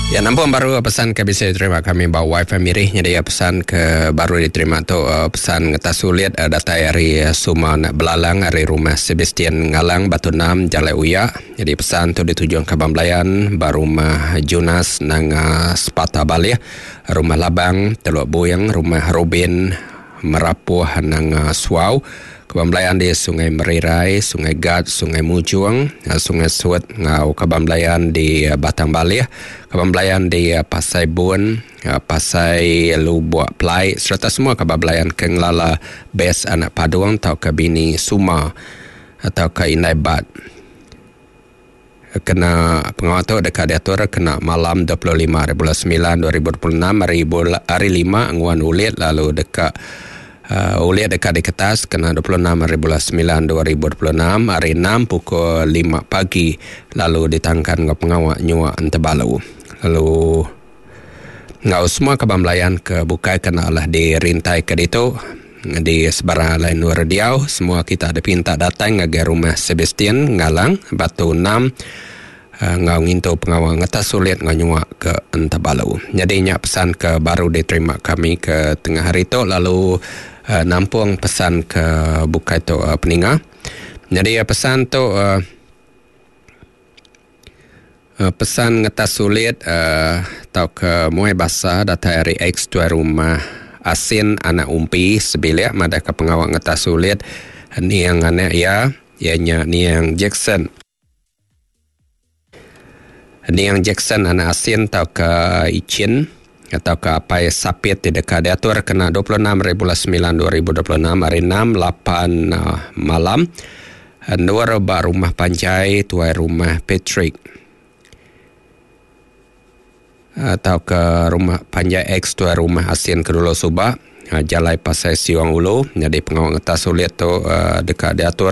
Ya nampung baru pesan ke bisi diterima kami ba wifi mirih nyadi pesan ke baru diterima tu pesan ngetas sulit datai ari Suman Belalang ari Rumah Sebastian Ngalang Batu Enam Jalai Uya. Nyadi pesan tu ditujung kaban belayan ba Rumah Junas Nanga Sepata Balih, Rumah Labang Teluk Buing, Rumah Rubin Merapuh Nanga Suau, Kaban belayan di Sungai Merirai, Sungai Gat, Sungai Mujung, Sungai Sut enggau kaban belayan di Batang Balih, kaban belayan di Pasai Bun, Pasai Lubok Pelai sereta semua kaban belayan ke ngelala Bes anak Padung tauka bini Suma tauka Indai Bat. Kena pengawa tu deka diatur kena malam 25 hari bulan semilan 2026 hari hari lima nguan ulit lalu deka uh, ulit deka diketas kena 26 hari bulan semilan 2026 hari enam pukul lima pagi lalu ditangkan enggau pengawa nyua entebalu. Lalu enggau semua kaban belayan ke bukai kena alah dirintai ke ditu di sebarang alai endur diau semua kita dipinta datai ngagai Rumah Sebastian Ngalang Batu Enam enggau ngintu pengawa ngetas sulit enggau nyua ke Entabalu. Nyadi nya pesan ke baru diterima kami ke tengah hari tu lalu nampung pesan ke bukai tu peninga. Nyadi pesan tu Pesan ngetas sulit tauka muai basa datai ari ex tuai rumah Asin anak Umpi sebilik madahka pengawa ngetas sulit niang anak iya, iya nya niang Jackson. Niang Jackson anak Asin tauka Ichin tauka apai Sapit ti deka diatur kena 26 hari bulan semilan 2026 ari enam lapan malam. Endur ba rumah panjai tuai rumah Patrick tauka rumah panjai ex tuai rumah Asin ke dulu suba jalai Pasai Siong Ulu nyadi pengawa ngetas ulit tu deka diatur.